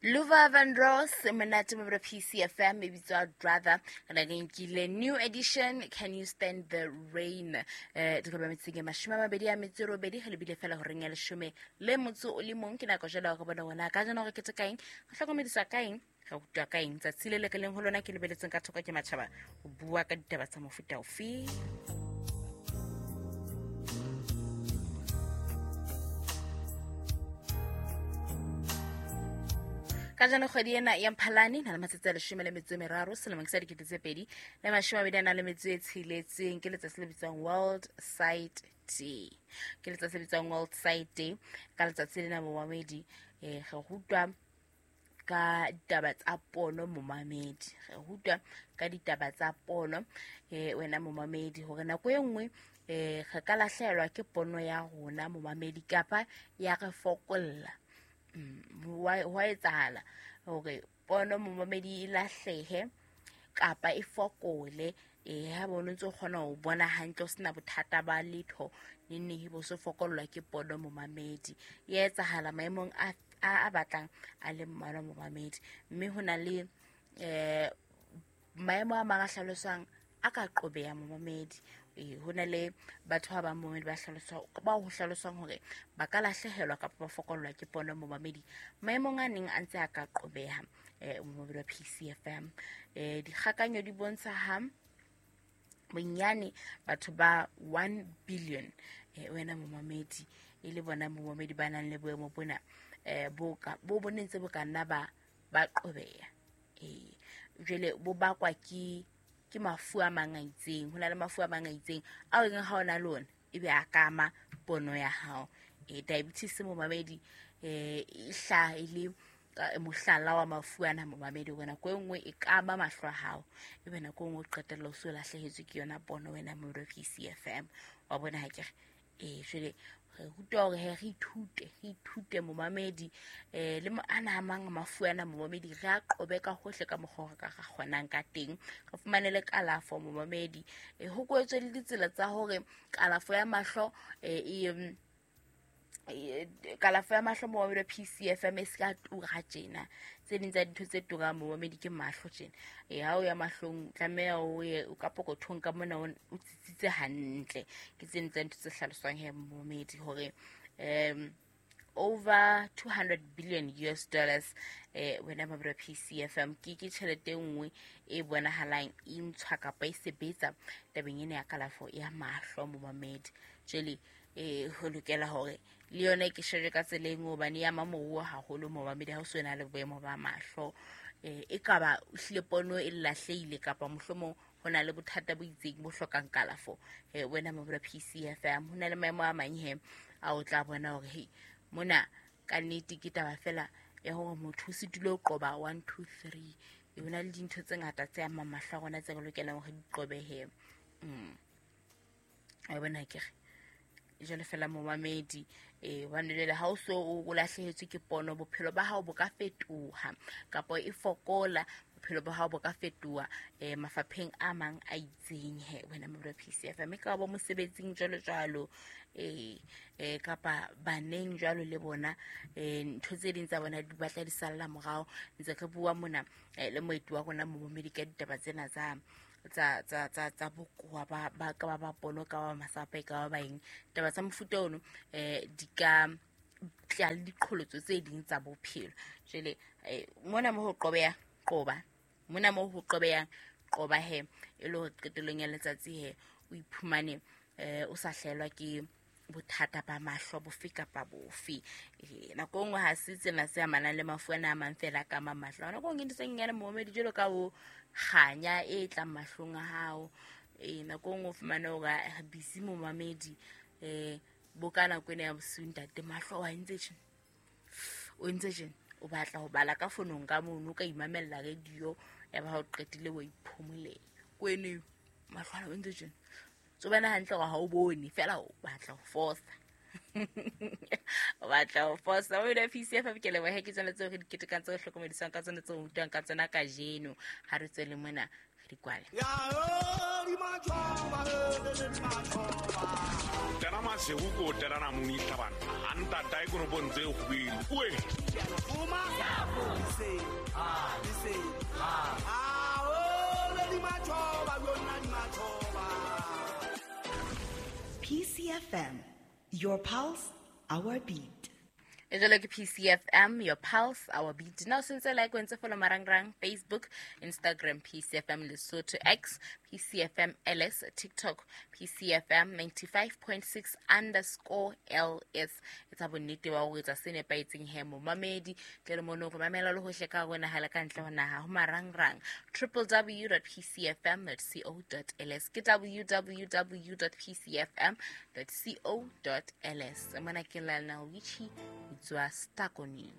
Luva Van Ross monate mo PCFM e bitswa Brother re re nkile new edition Can You Stand the Rain. Dikoba metseng e 28 ge lebile fela horeng ya 11 ke nako jalo go bona wona ka jana gore ke tse kaeng go hlokomedisa kaeng ga utlwa kaeng tsatsi le le ke leng ho lona ke lebeletseng ka thoko ke matjhaba ho bua ka ditaba tsa mofuta ofe. Ka jano kgwedi ena ya Mphalane na le matsatsi a 13 selemong sa 2026 ke letsatsi le bitswang World Sight Day. Ke letsatsi le bitswang World Sight Day. Ka letsatsi lena momamedi re rutwa ka ditaba tsa pono momamedi. Re rutwa ka ditaba tsa pono wena momamedi hore nako e nngwe re ka lahlehelwa ke pono ya rona momamedi kapa ya re fokolla. Hwa etsahala hore pono momamedi e lahlehe kapa e fokole ha bona ntse o kgona ho bona hantle o sena bothata ba letho neng bo se fokollwa ke pono momamedi. E etsahala maemong a batlang a le mmalwa momamedi, mme ho na le maemo a mang a hlaloswang a ka qobeha momamedi. Ho na le batho ba bang momamedi ba hlaloswa ba ho hlaloswang hore ba ka lahlehelwa kapa ba fokollwa ke pono momamedi maemong a neng a ntse a ka qobeha momamedi wa PCFM. Dikgakanyo di bontsha ha bonyane batho ba 1 billion wena momamedi e le bona momamedi ba nang le boemo bona bo bo nentse bo ka nna ba qobeha. Jwale bo bakwa ke mafu a mang a itseng. Ho na le mafu a mang a itseng ao e reng ha ona le ona ebe a kama pono ya hao. Diabetes momamedi e hlaha e le mohlala wa mafu ana momamedi, hore nako e nngwe e kama mahlo a hao ebe nako e nngwe o qetella o so lahlehetswe ke yona pono wena momamedi wa PCFM. Wa bona ha ke re jwale re rutwa hore he re ithute momamedi le ana a mang mafu ana momamedi re a qobe ka hohle ka mokgwa re ka kgonang ka teng, re fumane le kalafo momamedi. Ho kwetswe le ditsela tsa hore kalafo ya mahlo kalafo ya mahlo momamedi wa PCFM e se ka tura tjena. Tse ding tsa dintho tse turang momamedi ke mahlo tjena. Ha o ya mahlong tlameha o ye o ka pokothong ka mona o tsitsitse hantle. Ke tse ding tsa dintho tse hlaloswang he momamedi hore over $200 billion US wena momamedi wa PCFM ke tjhelete e nngwe e bonahalang e ntshwa kapa e sebetsa tabeng ena ya kalafo ya mahlo momamedi. Jwale ho lokela hore le yona ke shejwe ka tsela e nngwe hobane ya mamoruo haholo momamedi ha o so na le boemo ba mahlo. E kaba hlile pono e lahlehile kapa mohlomong ho na le bothata bo itseng bo hlokang kalafo. Wena momamedi wa PCFM ho na le maemo a mang he a o tla bona hore he mona ka nnete ke taba fela ya hore motho o sitile ho qoba 1 2 3. Ho na le dintho tse ngata tse amang mahlo a rona tse re lokelang hore di qobehe. Wa bona ke re jwale fela momamedi hobane jwale ha o so o lahlehetswe ke pono bophelo ba hao bo ka fetoha kapa e fokola bophelo ba hao bo ka fetoha mafapheng a mang a itseng he wena momamedi wa PCFM e ka ba mosebetsing jwalo jwalo kapa baneng jwalo le bona ntho tse ding tsa bona di batla di salla morao. Ntse re bua mona le moeti wa rona momamedi ka ditaba tsena tsa tsa bokowa ba ka ba pono ka ba masapo ka ba eng taba tsa mofuta ono di ka tla le diqholotso tse ding tsa bophelo. Jwale mona mo ho qobeha qoba, mona mo ho qobehang qoba he e le hore qetellong ya letsatsi he o iphumane o sa hlahelwa ke bothata ba mahlo bofe kapa bofe. Nako nngwe ha se tsena se amanang le mafu ana a mang fela ka mahlo. Nako nngwe ntho tse nyenyane momamedi jwalo ka o kganya e tlang mahlong a hao. Nako nngwe o fumane hore busy momamedi bo ka nako ena ya bosiu ntate mahlo wa entse tjena, o entse tjena, o batla ho bala ka fonong ka mono o ka imamella radio ya ba ha o qetile wa iphomolela kwene mahlo ana o entse tjena. So bana hantle hore ha o bone fela o batla ho fosa. O batla ho fosa. O ile PCFM ke leboha ke tsona tseo re di ketekang tseo re hlokomedisang ka tsona tseo rutwang ka tsona kajeno. Ha re tswele mona re di kwale. Tena masihu ko tena na muni hlabana. Anta dai kono bontse ho bile. Uwe. PCFM, your pulse, our beat. E jalo ke PCFM, your pulse, our beat. Now since like when follow marangrang, Facebook, Instagram, PCFM Lesotho, X, PCFM LS, TikTok, PCFM 95.6 underscore LS. Etsa bonnete ba ho etsa se nepahetseng he momamedi tle le mono go mamela le hohle ka rona ha le ka ntle ho naha ho marangrang www.pcfm.co.ls ke www.pcfm.co.ls. Mona ke Lionel Richie tswa Stakoni.